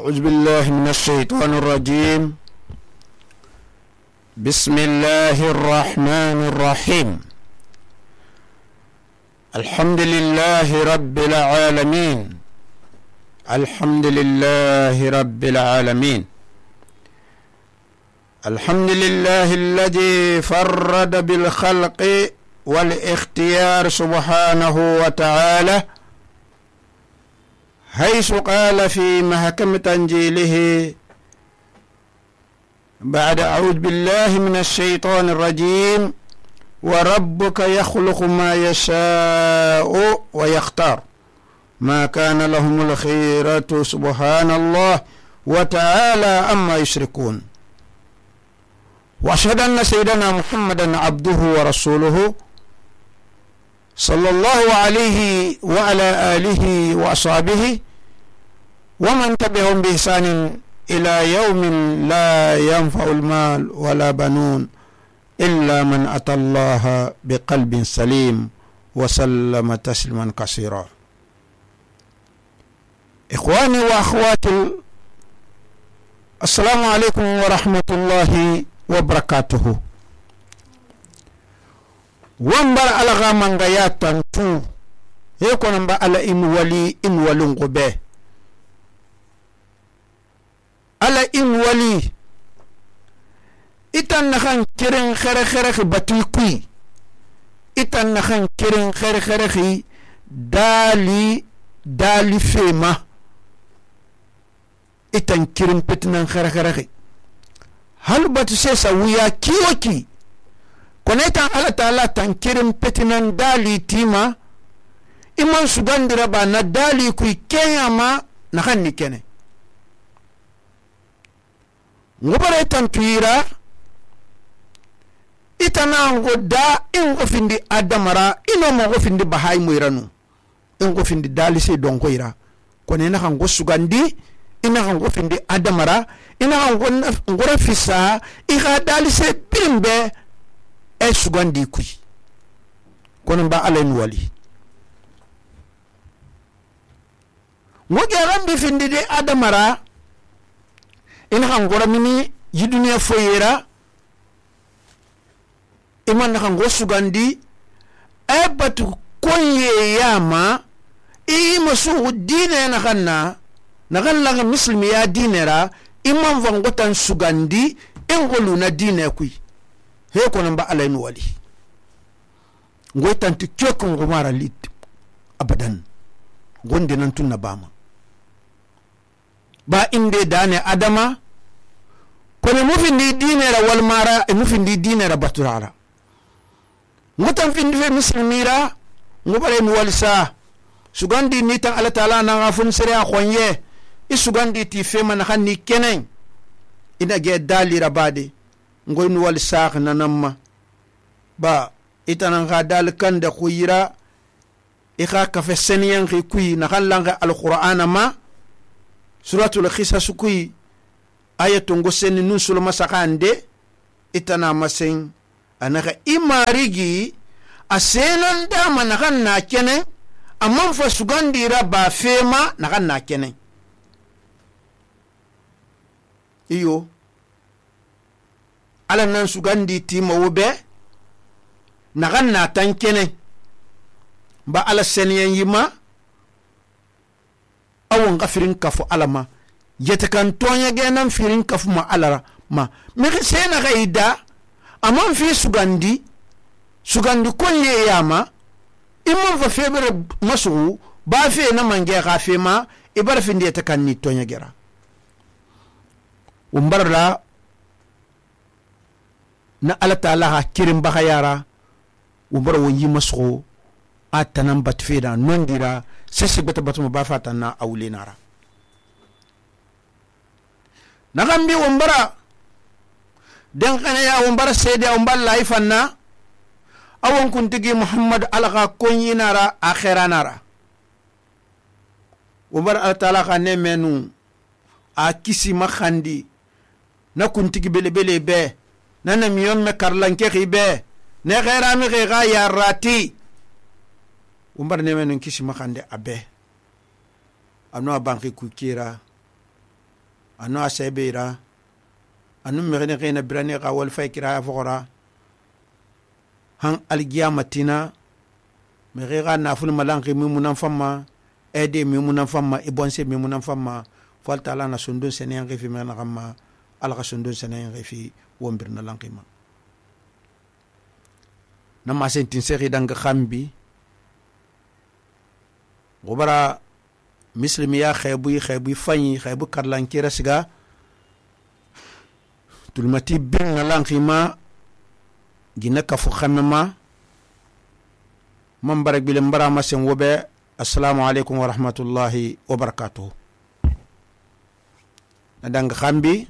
أعوذ بالله من الشيطان الرجيم. بسم الله الرحمن الرحيم. الحمد لله رب العالمين. الحمد لله رب العالمين. الحمد لله الذي فرد بالخلق والاختيار سبحانه وتعالى، حيث قال في محكم تنزيله بعد أعوذ بالله من الشيطان الرجيم: وربك يخلق ما يشاء ويختار ما كان لهم الخيرة سبحان الله وتعالى عما يشركون. وأشهد أن سيدنا محمدا عبده ورسوله صلى الله عليه وعلى آله وأصحابه ومن تبعهم بإحسان إلى يوم لا ينفع المال ولا بنون إلا من أتى الله بقلب سليم وسلم تسليما كثيرا. إخواني وأخواتي، السلام عليكم ورحمة الله وبركاته. wambar alaga manga ya tantu heko namba ala in walin gobe ala in wali itan nakan kirin khere batu kui itan nakan kirin khere dali fema itan kirin petinan khere hal batu sesa wuya kiyoki konetan ala ta'ala tankirin petinan dali tima iman sugandira ba na dali kui kenyama na kan ni kene ngobare tantuira itana ngoda ingo findi adamara ino mo findi bahai muiranu ingo findi dali se donko ira konena kan go sugandi ina kan go findi adamara ina kan go ngore fisa iga dali se bimbe sugandi kui kono ba alen wali ngoge rambi findi de adamara ina kan gora mini yiduniya foyera iman kan go sugandi batu konye yama masu dine na kan la muslimi ya dinera iman vangotan sugandi engolu na dine kui he kono ba alayn wali ngoy tanti kyoko ngomara lit abadan gonde nan tunna bama ba inde dane adama kono mufindi dinera wal mara mufindi dinera baturara ngotan findi fe muslimira ngobare mi walisa sugandi ni tan ala taala na ngafun sere a khonye isugandi ti fe man khanni kenen ina ge dalira bade ngoy nu wal saaq nanamma ba itanan ga dal kan da khuyira ikha ka fe seniyan khi kuy na khallanga alqur'ana ma suratul qisas kuy ayatu ngo sen nun sul masakande itana masen anaka imarigi asenan da man kan na kene amman fa sugandira ba fema na kan na kene iyo ala nan sugandi tima wobe nagan na tankene ba ala seniyan yima awon gafirin kafu alama yete kan tonya genan firin kafu ma alara ma me sena gaida amon fi sugandi konye yama imon fa febre masu ba fe na mange ga fe ma ibar fin de ta kan ni tonya gera umbarla na ala ta'ala ha kirin baka yara umbar wonyi maso atanan batfeda nondira sesi bata batuma ba fata na awle nara na gambi umbara den kana ya umbara sede umbal laifanna awon kuntigi muhammad alqa konyi nara akhira nara umbar ala ta'ala ka ne menu a kisi makhandi na kuntigi bele be nana miyon me karlanke khibe ne khaira mi kha ya rati umbar ne men kisi makande abe amno banki ku kira anu asebira anu mexine xina birane xa wal fay kiraya foxora han algiyamatina mexe xa nafulu malanxi mimunan famma aide mimunan famma ibonse mimunan famma fal taala na sundun senen xifi mexena xamma ala xa sundun senen xifi wombirna lanxima na masentin sexi danga xambi xubara misilimiya xeebuy faɲi xeebu karlankira siga tulmati birna lanxima gina kafu xamema man bara gbilen bara masen wobe assalamu alaikum wa rahmatullahi wa barakatuh na danga xambi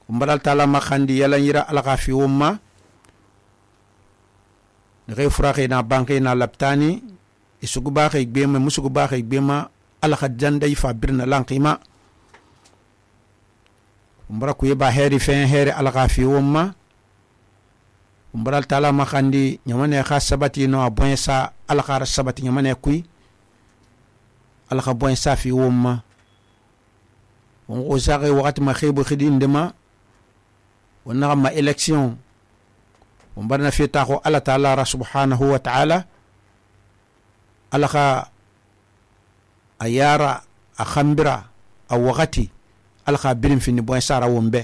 umbaral taala ma xandi yalan yira ala xa fi wumma nexe furaxe na banque na laptani isugu baxe gbema musugu baxe gbema ala xa janday fa birna lanqima umbara kuye ba heri fen heri ala xa fi wumma umbaral taala ma xandi ñamane xa sabati no a boyen sa ala xa ra sabati ñamane kuy ala xa boyen sa fi wumma on ko saxe waxati ma xebu xidi ndema wonna ma election umbarna fi taxo ala taala ra subhanahu wa ta'ala ala xa a yara a xambira a waxati ala xa birin fini boyen sara wombe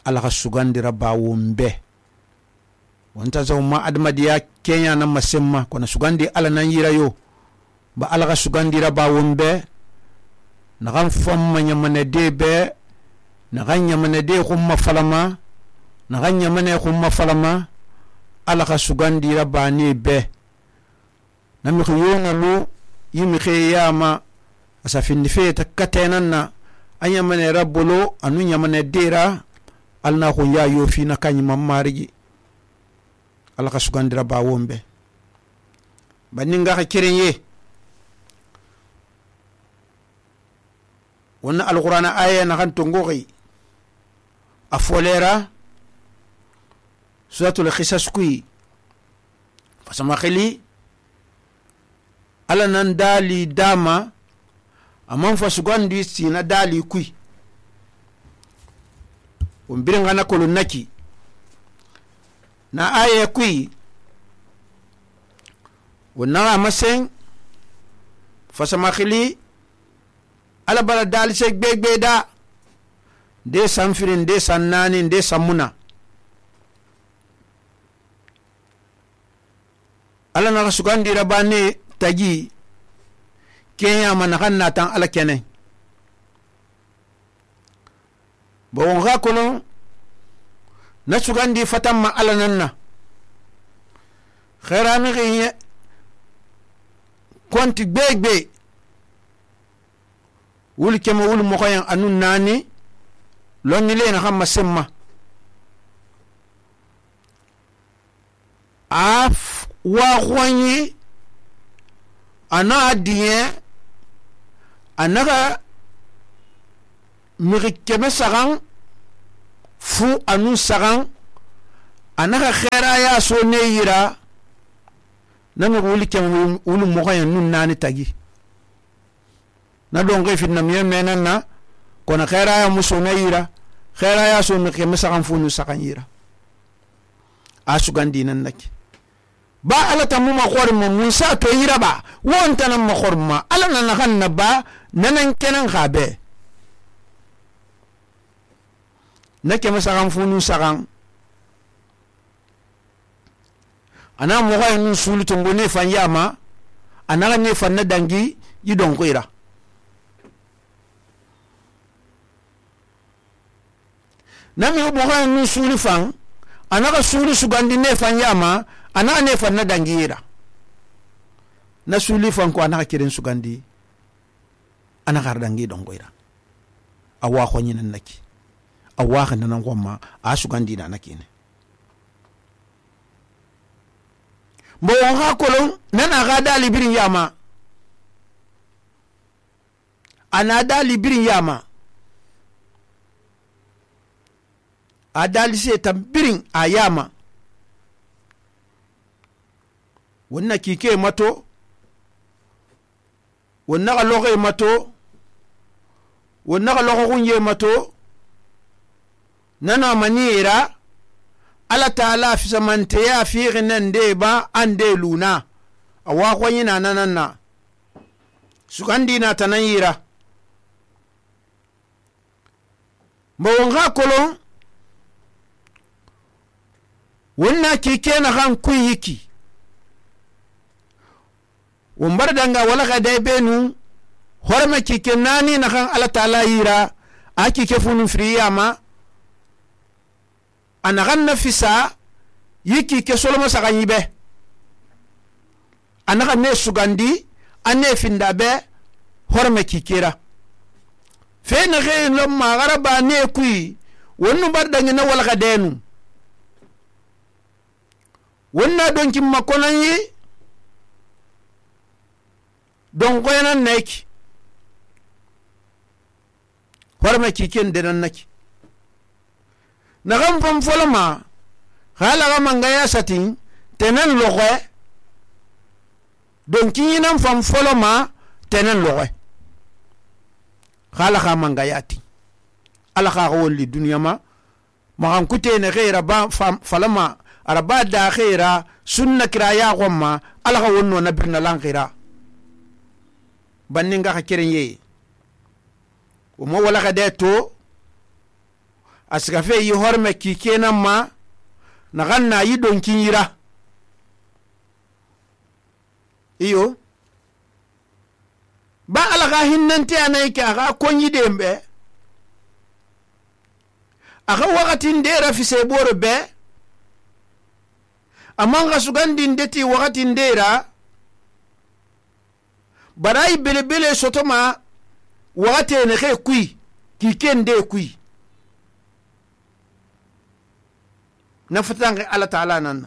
ala xa sugandira ba wombe wonta zo ma adamadiya kenya na masemma kono sugandi ala nan yira yo ba ala xa sugandira ba wombe naxan famma ñamane de be naxan ñamane de xumma falama naxan ñamane xumma falama ala xa sugandira bane be namixi yonalu yimixe yama asa findi feta katenan na a ñamane rabbolo anu ñamane dera alna xun ya yofina kañimam marigi ala xa sugandira ba wombe baninga xa kerenye wonna alqur'ana aya naxan tongoxi a folera suratul qisas kuy fasama xili ala nan dali dama aman fa sugandi sina dali kuy on birenga na kolo naki na aya kuy wonna amasen fasama xili ala bara dali se gbegbe da de sanfirin de sannani de samuna ala na sugandira bane tagi kenya mana kan natan ala kene bon ga kono na sugandi fatamma ala nanna khairami ghiye konti gbegbe wul kema wul mo koyan anun nani lonni le na xam masemma af wa khwanyi ana adiye anaka miri keme sagan fu anu sagan anaka khaira ya so ne yira nami wuli kema wulu mo koyan nun nani tagi na donge fitna miye menan na kona khaira ya muso na yira khaira ya so me keme sagan fu nu sagan yira asugandi nan naki ba ala tamu ma khorma musa to yira ba wonta nan ma khorma ala nan kan na ba nanan kenan khabe nake masagan funu sagan ana mo ga nun sulu to ngone fan yama ana ne fan na dangi yidon koira nami mo ga nun sulu fan ana ga sulu sugandi ne fan yama ana ne fan na dangira na suli fan ko ana kiren sugandi ana gar dangi don goira awa ko nyinan naki awa khana nan gomma a sugandi na nakine mbo ha kolon nana ga dali birin yama ana dali birin yama adali se tambirin ayama wonna kike mato wonna loge mato wonna ga loxo xunye mato nana maniyera ala taala fisamanteya fiixi nan de ba an de luna awa xoyina nanan na sugandina tanan yira mbawon xa kolon wonna kike na xan kun yiki won bar danga wala ga dai benu horma kike nani na xan ala taala yira a kike funun friyama ana xan na fisa yiki ke soloma saxan yibe ana xan ne sugandi anne finda be horma kikera fe na xe lo magara ba ne kui wonnu bar dangi na wala ga denu wonna donki makonan yi don koyanan neki horma kiken denan naki na kan fam foloma hala ga mangaya satin tenen loxe don kiyinan fam foloma tenen loxe hala ga mangaya ti ala ga wolli duniya ma magan kutene xeera ba falama araba da xeera sunna kira ya xomma ala ga wonno na birna lan xira banninga xa keren ye o mo wala ga de to asika fe yi horme ki kenan ma na ganna yi donkin yira iyo ba alaga hinnante anai ke aga konyi dembe aga wakati ndera fi seboro be amanga sugandi ndeti wakati ndera barai bele sotoma wakati ne ke kui ki kende kui na fatange ala ta'ala nan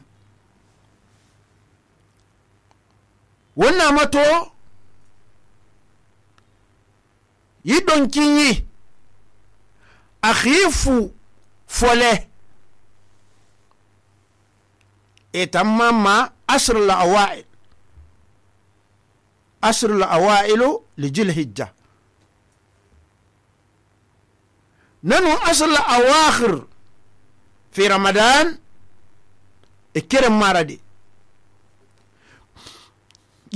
wannan mato yi donkin yi akhifu fole etamma asr al-awa'il li jil hijja nanu asr al-awakhir fi ramadan ikirem maradi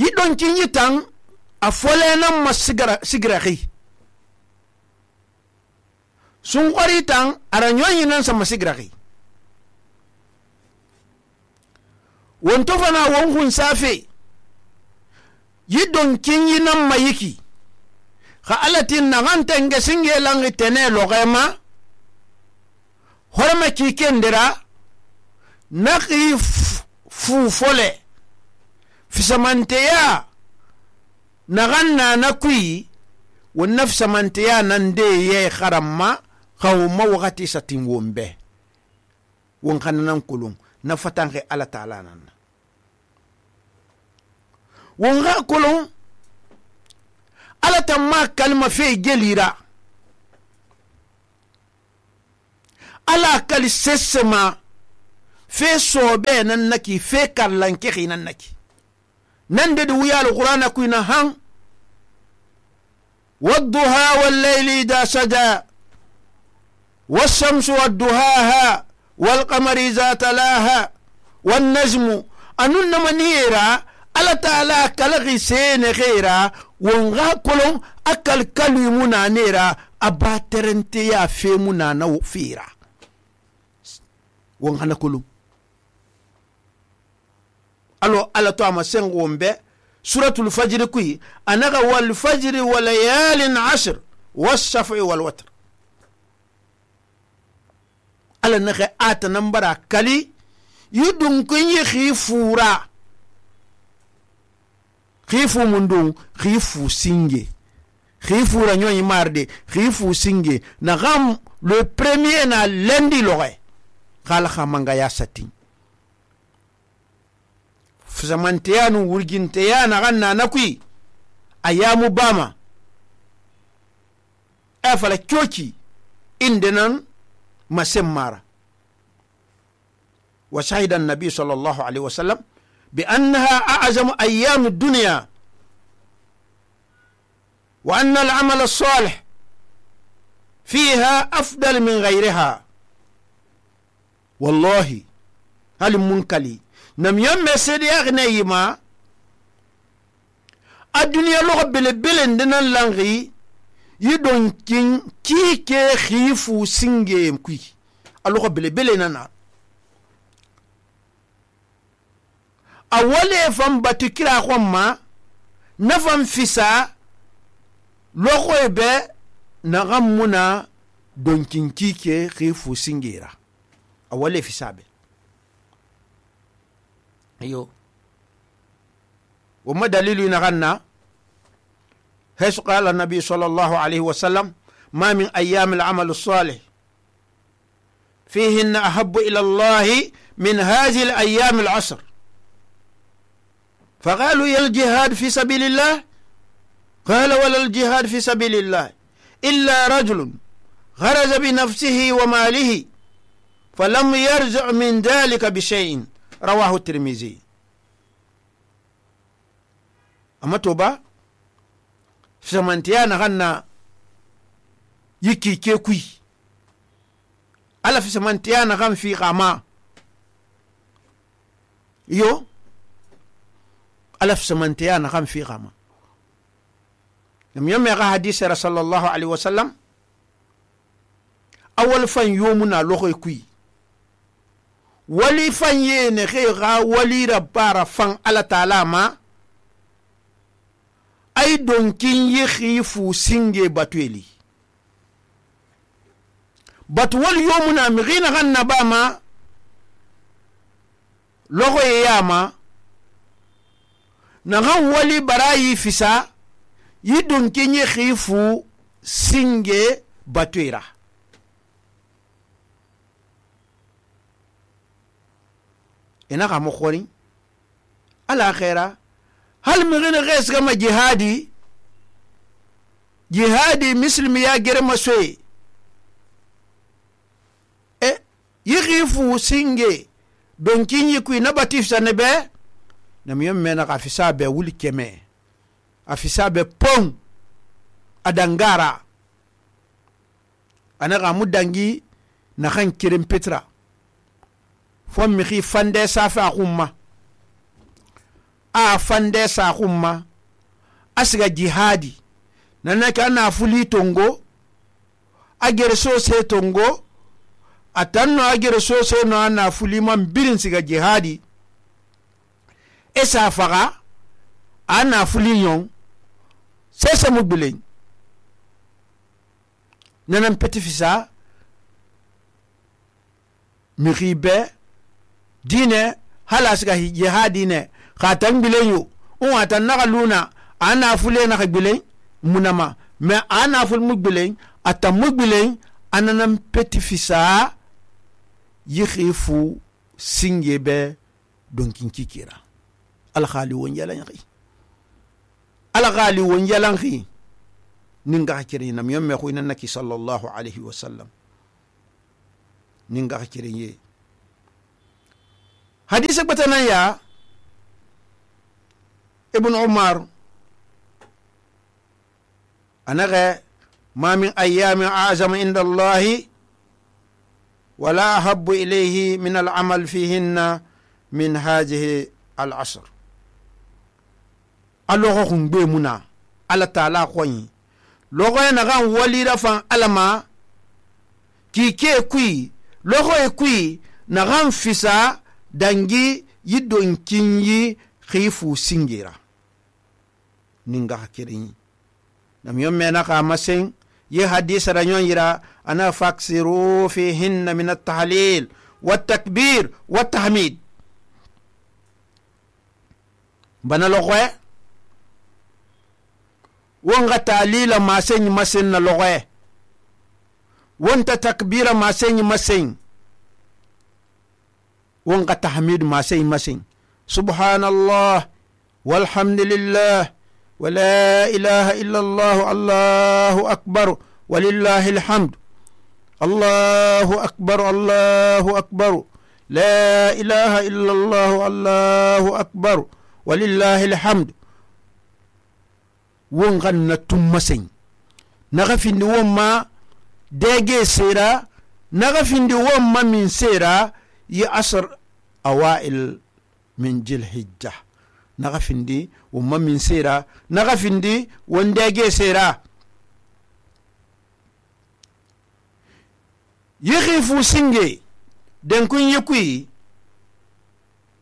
yi donkin yi tan a fole nan masigirahi sun kwari tan aranyon yi nan sa masigirahi wanto fana wankun safe yi donkin yi nan mayiki ka alatin na hantan ga singe langi tene logema horma kiken dira na fu fole fisamanteya na ganna na kui wannan fisamanteya nan de ye kharamma khawma wakati satin wombe won kananan kulun na fatange ala ta'ala nan won ga kulun ala tamma kalma fe gelira ala kal sesema fe sobe nan naki fe kallanke khinan naki nan de wiya alqur'ana kuina han wadduha wal layli idha saja wash-shamsu wadduhaha wal qamari idha talaha wan najmu anunna manira ala ta'ala kalghi sene khaira wonga kolon akal kalimuna nera abaterente ya femuna na fira won hana kulum alo ala to ama sen wombe suratul fajr kuyi anaga wal fajr wa layalin ashr was-shaf'i wal watr ala naga ata nambara kali yudun kunyi khifura khifu mundun khifu singe khifura nyoy marde khifu singe na gam le premier na lundi lore khala khamanga ya satin fuzamanteyanu wurginteyana ganna nakui ayamu bama afala kyoki indenan masemmara وشهد النبي صلى الله عليه وسلم بأنها أعظم أيام الدنيا وأن العمل الصالح fiha afdal min ghayriha wallahi hal munkali nam yamme sedi agne yima aduniya logo bele bele ndinan langi yidon kin kike khifu singe kui alogo bele bele nana awale fam batukira khomma nafam fisa logo ebe nagamuna donkin kike khifu singera awale fisabe ayo وما دليل نغنى حيث قال النبي صلى الله عليه وسلم ما من أيام العمل الصالح فيهن أحب إلى الله من هذه الأيام العشر فقالوا يا الجهاد في سبيل الله قال ولا الجهاد في سبيل الله إلا رجل غرز بنفسه وماله فلم يرجع من ذلك بشيء رواه الترمذي أما توبا سمانتيا نغنى يكي كيكوي ألا في سمانتيا نغن في غاما يو ألا في سمانتيا نغن في غاما لم يمغى حديث رسول الله عليه وسلم أول فان يومنا لغي كوي ولي فان ينغيغا ولي ربارا فان ألا تعالى ما ay donkin yi khifu singe batweli batwal yomuna migina ganna bama logo yama na gan wali barayi fisa yi donkin yi khifu singe batwera ina ga mo khori ala khaira hal migina ghais kama jihadi muslim ya germa soye yighifu singe donkin yikui na batif sanebe nam yemme na afisa be wuli keme afisa be pon adangara ana ga mudangi na khan kirim petra fon mi khi fande safa khumma a fande sa khumma asiga jihadi nanaka na fuli tongo agere so se tongo atanno agere so se no na fuli man birin siga jihadi esa faga ana fuli yon sese mubilen nanan petifisa miribe dine halasiga jihadi ne khatan bileyo on atan naga luna ana fule naga bilen munama me ana ful mugbilen ata mugbilen ananam petifisa yikhifu singebe donkin kikira al khali won yalangi al khali won yalangi ninga hakiri nam yomme ko inannaki sallallahu alayhi wa sallam ninga hakiri ye hadith batana ya ابن عمر أنا ما من أيام أعظم عند الله ولا أحب إليه من العمل فيهن من هذه العشر ألوغهم بمنا على تعالى خوين لوغو نغان ولي رفان ألما كي كوي لوغو كوي نغان فسا دنجي يدون كيني خيفو سنجيرا ninga hakirin nam yomme na ka masen ye hadith ranyon yira ana faksiru fihinna min at-tahlil wat-takbir wat-tahmid bana logwe wonga talila masen masen na logwe wonta takbira masen masen wonga tahmid masen masen subhanallah walhamdulillah ولا إله إلا الله الله أكبر ولله الحمد الله أكبر الله أكبر لا إله إلا الله الله أكبر ولله الحمد ونغن تمسين نغفي نوما dege sera naga findi won ma min sera yi asr awail min jil hijja naga findi won ma min sera naga findi won dege sera يخيفوا سنجي دن كن يكوي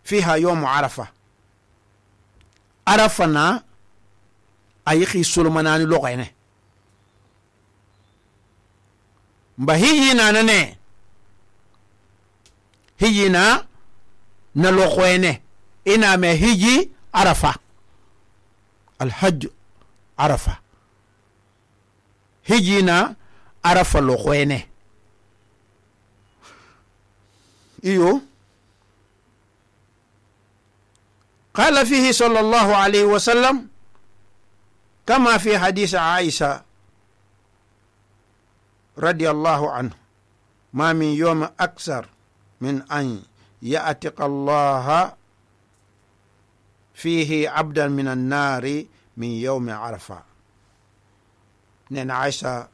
فيها يوم عرفة عرفنا أيخي سلمانان لغينه بهينا ننه هينا نلغينه إنا ما هيجي عرفة الحج عرفة هيجينا عرفة لغينه إيو قال فيه صلى الله عليه وسلم كما في حديث عائشة رضي الله عنه ما من يوم أكثر من أن يأتق الله فيه عبدا من النار من يوم عرفة نين عائشة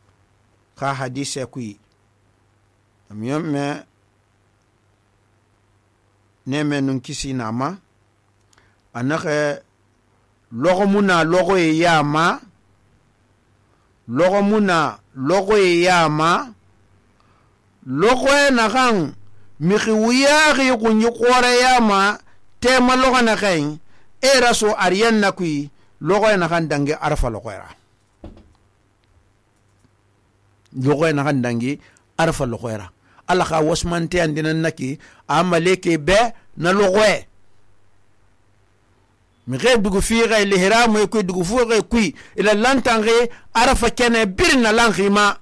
قا حديث يكوي يوم neme nun kisi nama anake logo muna logo e yama logo muna logo e yama logo e nakan miki wiyari kunyi kore yama tema logo nakan era so ariyan nakui logo e nakan dangi arfa logo era logo e nakan dangi arfa logo era Allah ka wasmante andinan naki amaleke be na logwe mi ge dugu fiire le hiramu e ko dugu fuure kui ila lantange arafa kene birna lankhima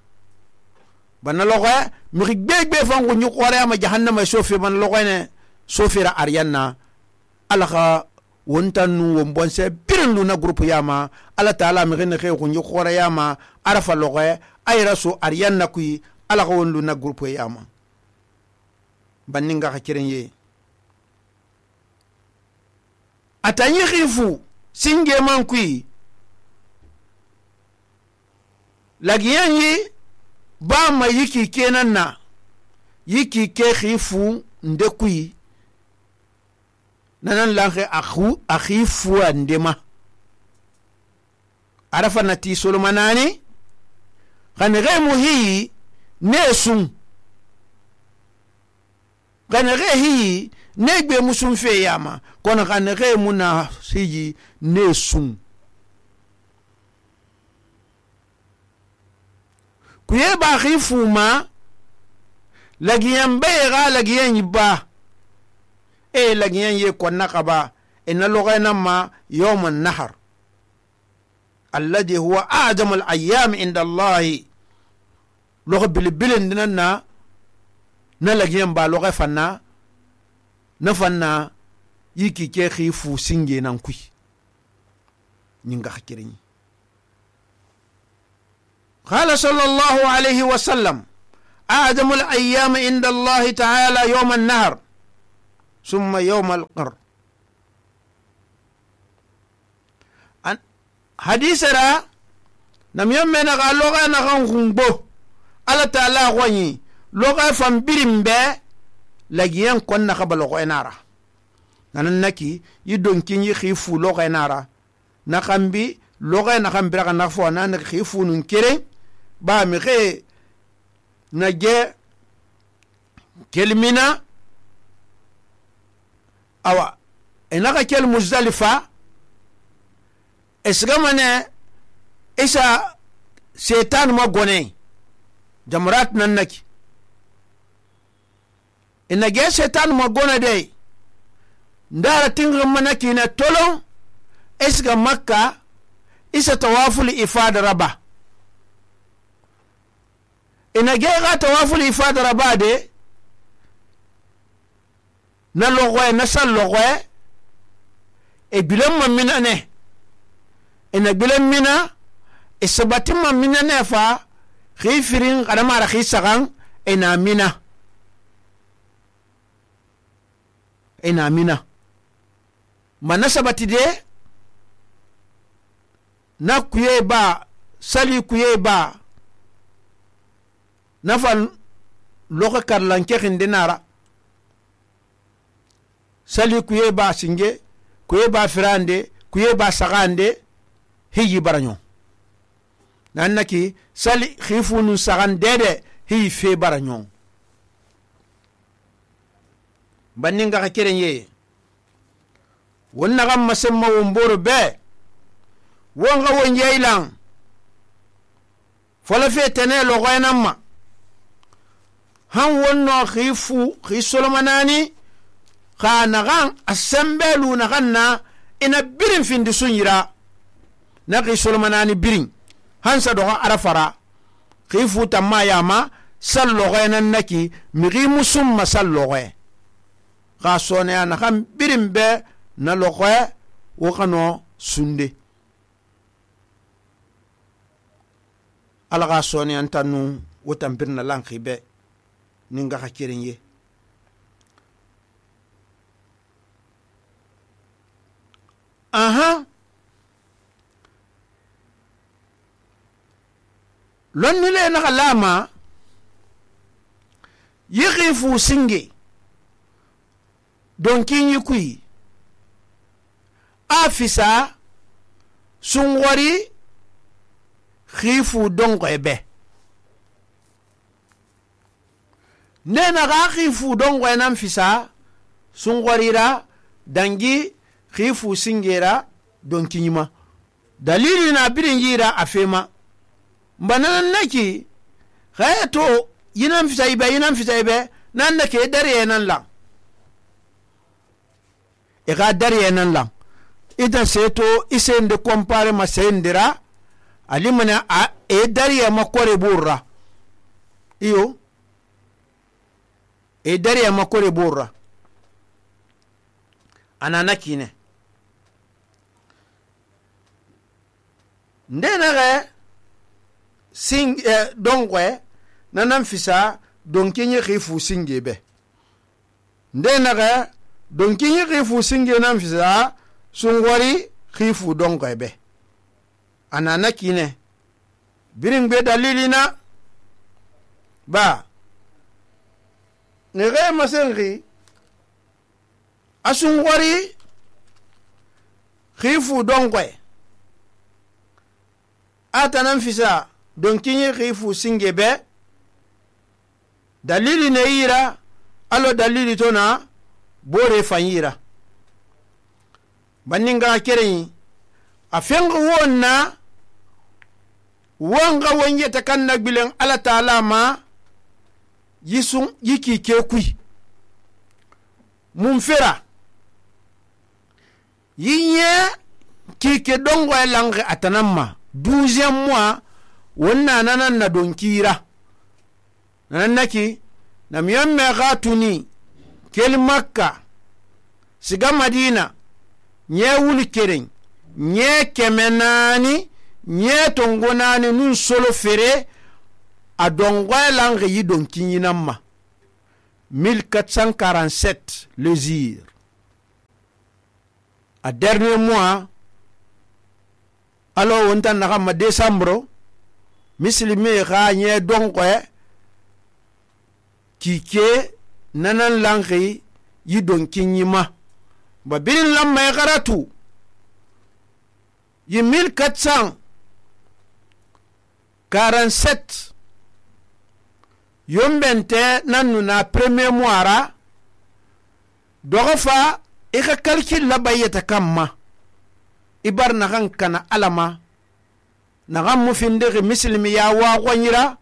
ban logwe mi gbegbe fangu nyu qore ma jahannama sofi ban logwe ne sofira aryanna Allah ka wontanu wombonse birnu na groupe yama Allah taala mi gene ko nyu qore yama arafa logwe ay rasu aryanna kui Allah ka wonlu na groupe yama baninga ka kirenye atanyi khifu singe man kui lagiyanyi ba ma yiki kenan na yiki ke khifu nde kui nanan lange akhifu andema arafa nati solomanani khanere muhi nesun kanere hi negbe musun fe yama kono kanere muna siji nesun kuye ba khifuma lagiyan bayga lagiyan yiba lagiyan ye konna qaba inna lughana ma yawm an-nahr alladhi huwa a'zam al-ayyam inda Allah lugh bil dinna na lagiyan ba loge fanna na fanna yiki ke khifu singe nan kui ninga hakirin qala sallallahu alayhi wa sallam a'zamul ayyam inda Allah ta'ala yawm an-nahr thumma yawm al-qar an hadisara nam yamme na ga loge na kan khumbo Allah ta'ala wani loga fam birimbe lagiyen konna khabalo ko enara nanan naki yidon kinyi khifu loga enara na khambi loga na khambira kana fo nan khifu nun kere ba mi khe na je kelmina awa enaka kel muzdalifa esgamane isa setan mo gone jamrat nan naki ina ge setan mo gona de ndara tingam manaki na tolo esga makka isa tawaful ifada raba ina ge ga tawaful ifada raba de na logwe na sal logwe e bilam mamina ne ina bilam mina isabatim mamina ne fa khifirin qadama ra khisagan ina mina manasabati de na kuye ba sali kuye ba nafan loxe karlanke xinde nara sali kuye ba singe kuye ba firande kuye ba saxande hiyi baraño nan naki sali xifunu saxan dede hiyi fe baraño banninga xa keren ye won naxan masenma won boro be won xa won yeylan fola fe tene loxoyenan ma han wonno xifu xi solomanani xa naxan a sembelu naxan na ina birin findi sunyira na xi solomanani birin han sa doxa arafara xifu tamma yama sal loxoyenan naki mixi musumma sal loxoye xa soneya naxan birin be na loxoye wo xano sunde ala xa soneyantanu wo tampirna lanxi be ninga xa keren ye aha lonnile naxa lama yi xifu singe donkiɲi kui a fisa sunxori xifu donxoye be nenaxa xifu donxoye nan fisa sunxorira dangi xifu singera donkiɲima dalili na birin yira a fema mbananan naki xaye to yinan fisa ibe nan nake dariye nan lan ixa dariye nan lan ita seto isende compare ma sendira alimana a dariye ma kore burra iyo dariye ma kore burra anana kine ndenaxe donxoe nanan fisa donkiɲi xifu singe be ndenaxe donkiɲi xifu singe nan fisa sunxori xifu donxoe be anana kine birin gbe dalilina ba ngexe masenxi a sunxori xifu donxoe atanan fisa donkiɲi xifu singe be dalili ne yira alo dalili to na bore fan yira banninga kereyi a fenga wonna wonga wonyeta kan nagbilen ala taala ma yisun yiki ke kui mun fera yinye kike dongo elange atanamma 12e mois wonna nanan na donkira nanaki nam yamme gatuni kel makka siga madina nye wuli keren nye kemenani nye tongonani nun solo fere a dongo elange yi donkinyinamma 1447 le zir a dernier mois alo wontan na ma décembre muslimi ga nye donko kike nanan langi yi donkinyima ba bin lamma garatu yi 1447 yombente nanu na premier mois ra dogofa ika kalkil la bayeta kamma ibar na kan kana alama na kan mufindege muslimi ya wa gwanyira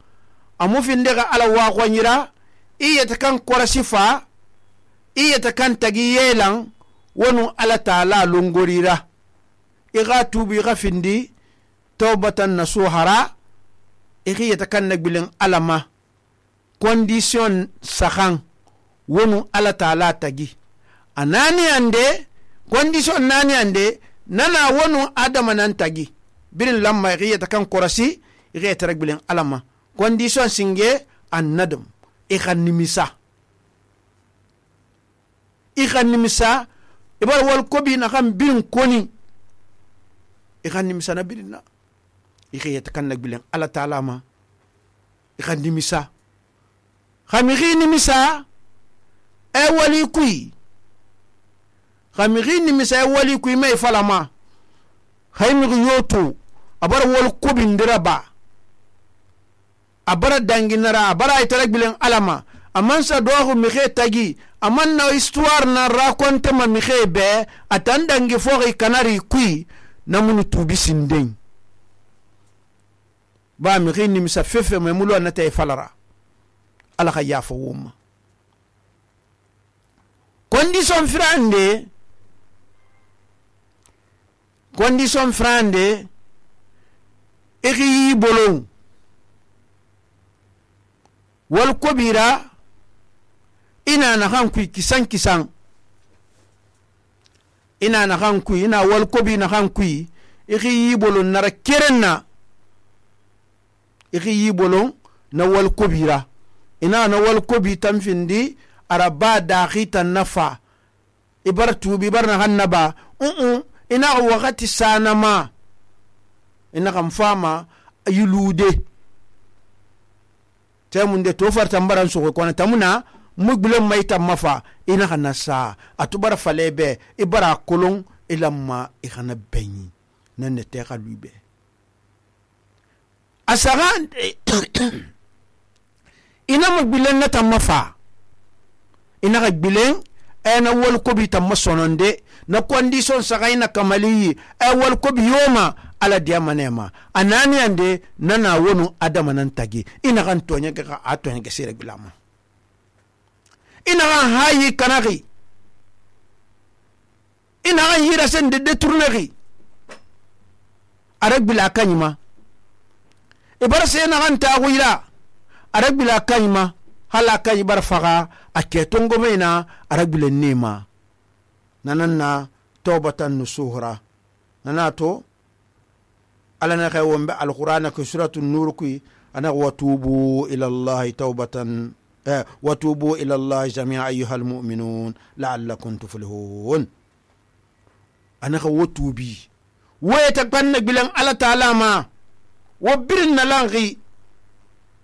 a mufindege ala wa gwanyira iyeta kan korasifa iyeta kan tagi yelan wonu ala taala longorira iga tubi iga findi tawbatan nasuhara iyeta kan nagbilen alama condition sahan wonu ala taala tagi anani ande condition nani ande nana wonu adama nan tagi birin lamma iyeta kan korasi iyeta ragbilen alama condition singe annadam ikhanimisa ibar wal kobi na kan birin koni ikhanimisa na birin na iyeta kan nagbilen ala taala ma ikhanimisa khamighi nimisa e wali kui khamighi nimisa e wali kui mai falama khaymighi yoto abara wal kobindira ba abara danginara abara itara gbilen alama amansa doxu mixe tagi aman na histoire na raconte ma mixe be atan dangi foxi kanari kui namunu tubi sinden ba mixe nimisa fefe me mulo anata falara ala xa yafa woma condition frande ixi yi bolon wal kobira ina na han kui kisan ina na han kui ina wal kobi na han kui ixi yi bolon nara kerenna ixi yi bolon na wal kobira ina na wal kobi tamfindi araba daxi tan nafa ibar tubi bar na hannaba ina wakati sanama ina kan fama yulude temunde to farta mbaran so ko na tamuna mugbulen mai tamafa ina kana sa atubara falebe ibara kolon ilamma ikana benyi nan ne te khalube asagan ina mugbulen na tamafa ina ga bilen ena wal kobi tamasononde na condition sagaina kamali wal kobi yoma ala diamanema anani ande nana wonu adama nan tagi ina kan tonya ga atonya ga sire bilama ina kan hayi kanari ina kan hira sen de détournerie arag bila kanyima ibar se na kan ta wira arag bila kanyima halaka ibar faga aketongo mena arag bila nema nananna tawbatan nusuhra nanato ala na kay wombe alquran ko suratul nur ku ana watubu ila allah tawbatan watubu ila allah jami'a ayyuhal mu'minun la'allakum tuflihun ana ko watubi wayta banna bilan ala ta'ala ma wabirna langi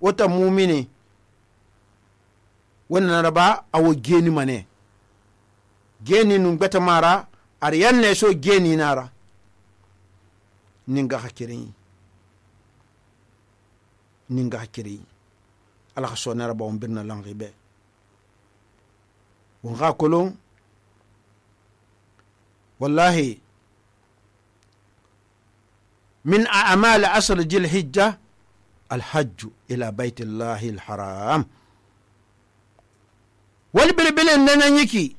wata mu'mini wannan raba awo geni mane geni nun beta mara ariyan ne so geni nara ninga hakiri ala so nara ba on birna langi be won ga kolon wallahi min a'mal asr jil hijja الحج إلى بيت الله الحرام والبلبل إننا يكي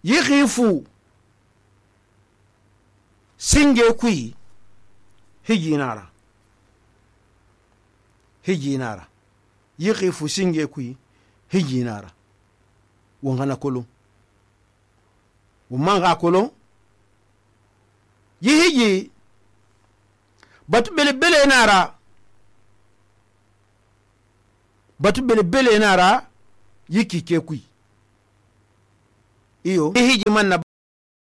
يخيفو سنجي كوي هجي نارا يخيفو سنجي كوي هجي نارا وانغانا كولو ومانغا كولو يهجي batu bele nara yiki ke kui iyo hiji man na